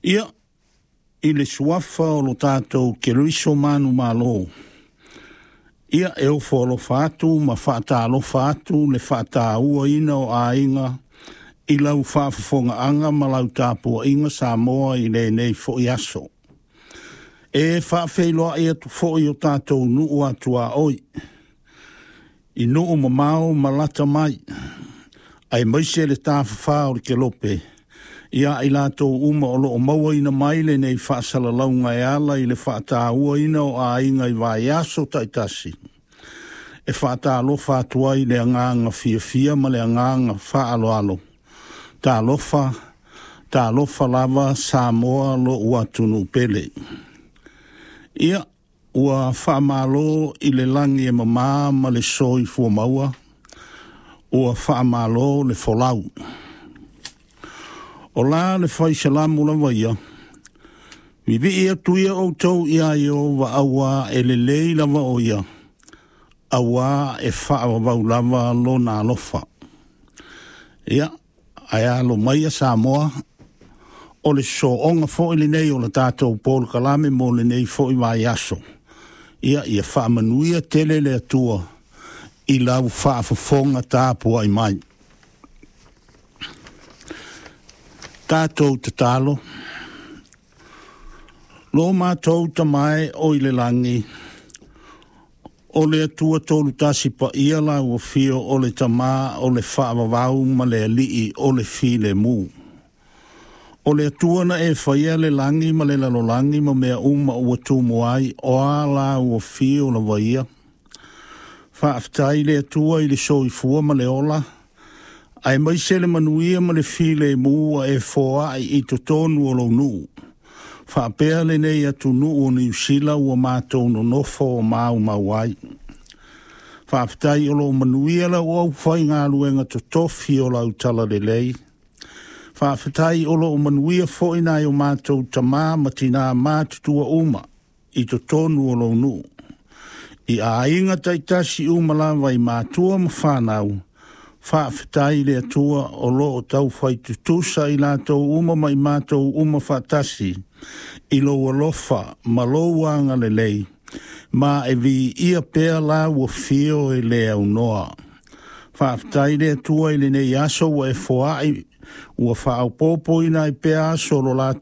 Ia, i le suafa o lo tatou Keriso manumalo, ia e ofo alofa atu ma faatalofa atu le faatauaina o aiga i lau faafofogaaga ma lau tapuaiga Samoa i lenei foi aso. E faafeiloai atu foi i o tatou nuu atuaoi, i nuu mamao ma lata mai, aemaise le tafafā o le Kelope, ia i latou uma o lo o mauaina mai lenei faasalalauga e ala i le faatauaina o aiga i vaiaso taitasi, e faatalofa atu ai i le agaga fiafia ma le agaga faaaloalo. Talofa, talofa lava Samoa lou atunuu pele. Ia, ua faamalo i le lagi e mama ma le soifua maua, ua faamalo le folau. O la le fai Salamu lava ia, vivii atu ia outou iā Ieova auā e lelei lava o ia, auā e faavavau lava lona alofa. Ia, ae alo maia Samoa, o le sooga foi lenei o le tatou polokalame mo lenei foi vaiaso. Ia, ia faamanuia tele le Atua i lau faafofoga tapuai mai. Tatou tatalo, lo matou Tama e o i le lagi, o le Atua tolu tasi paia lau afio o le Tama o le faavavau ma le Alii o le filemu. O le Atua na e faia le lagi ma le lalolagi ma mea uma ua tumu ai, o a lau afio lava ia. Faafetai le Atua i le soifua ma le ola, aemaise le manuia ma le filemu ua e foai i totonu o lou nuu. Faapea lenei atunuu o Niu Sila ua matou nonofo maumau ai. Faafetai o lo o manuia lau aufaigaluega totofi o lau talalelei. Faafetai o lo o manuia foi nai o matou tama ma tinā matutua uma i totonu o lou nuu. I aiga taitasi uma lava i matua ma whanau, faafetai le Atua o lo o taufai tutusa i latou uma ma i matou uma faatasi, i lou alofa ma lou agalelei, ma e viia pea lau afio e le aunoa. Faafetai le Atua i lenei aso ua e foai, ua faaopoopoina ai pea aso o lo latou